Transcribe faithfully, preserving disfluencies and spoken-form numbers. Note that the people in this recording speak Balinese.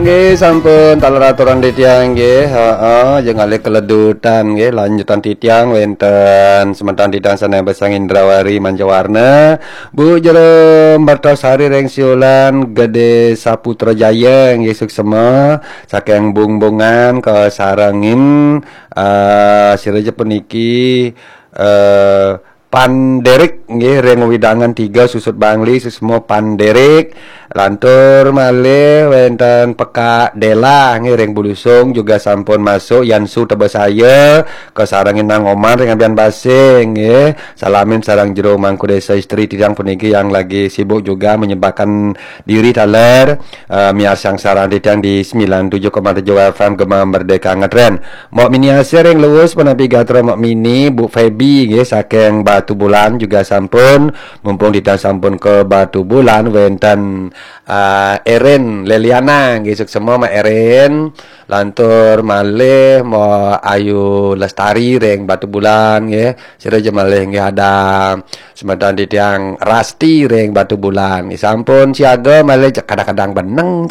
Oke, sampun taler aturan titiang nggih. Heeh, aja ngalih keledutan nggih. Lanjutan titiang wenten semeton titiang sané besang Indrawari Mancawarna, Bu Jero Mertasari ring Siulan Gedé Saputra Jaya nggih, suksema saking Bungbungan kasarengin, eh, sira ja puniki, eh, Panderik nggih, ring wewidangan tiga Susut Bangli, suksema Panderik. Lantur malih wenten Pekak Dela nggih, ring Bulusung juga sampun masuk, Yansu Tebesaya, kasarengin Nang Oman ring Ambian Basing nggih. Salamin sareng jero mangku desa istri titiang puniki yang lagi sibuk juga menyempatkan diri taler, eh, miarsang sareng titiang di sembilan tujuh koma tujuh F M Gema Merdeka Ngetren. Mbok Mini Asih ring Luwus punapi gatra Mbok Mini, Bu Feby nggih saking Batubulan juga sampun, mumpung titiang sampun ka Batubulan, wenten, eh, Erin Leliana nggih, suksema Mbok Erin. Lantur malih Mbok Ayu Lestari ring Batubulan nggih. Sira ja malih nggih, ada semeton titiang Rasti ring Batubulan nggih, sampun siaga malih, kadang-kadang beneng